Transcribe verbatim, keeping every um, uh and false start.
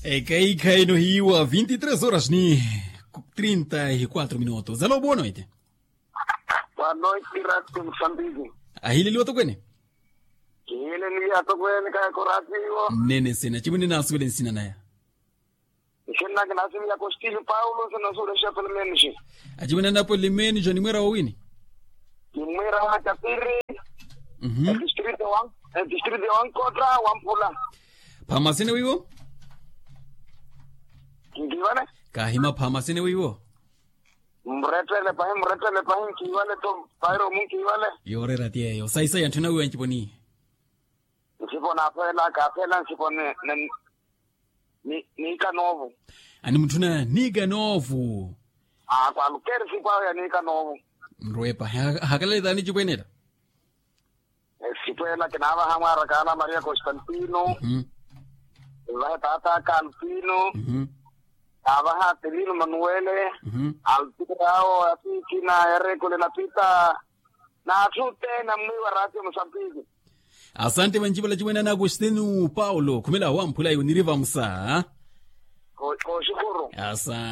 Ekaikha eno hiiwa vinti tres horas ni trinta y kuatro minutos alo boa noite. Boa noite, rati musambiki. Ahileliwa tokwene. Kihileliwa tokwene kayakoratiwo. Nnene nsina acimwene naasuwele nsina naya. Nsina nake naasuwele ya kostilio paulo sina suwele shefe limenisi. Acimwene anapo limenisi animwera wawini. Nimwira wa katiri. Distrito wa distrito wa nkota wa mpula. Phamasene wiwo. Nkiwale. Kahima phamasene wiwo. Mretele pahi mretele pahi nkiwale to pairo mu nkiwale. Yorera tieyo saisai anthu nawiwa nciponi. Nsipo naphela kaphela nsipo ni ni ni ika novo. Animutthuna ni ika novo. Akwa lukeri sipo awo ya ni ika novo. Nrwepa hakalale tani cipwenela. Sipwela kinaavaha mwaaraka ala maria constantino. Vahe taataka alpino. Avaha atilino manuwele. Alpino awo atikina erekole na pita. Na athu tena mwiwa ratio musambiki. Asante vanci valacimwene ana agostino paulo khumela wamphula iwe niriva musa. Koxukuru. Asante.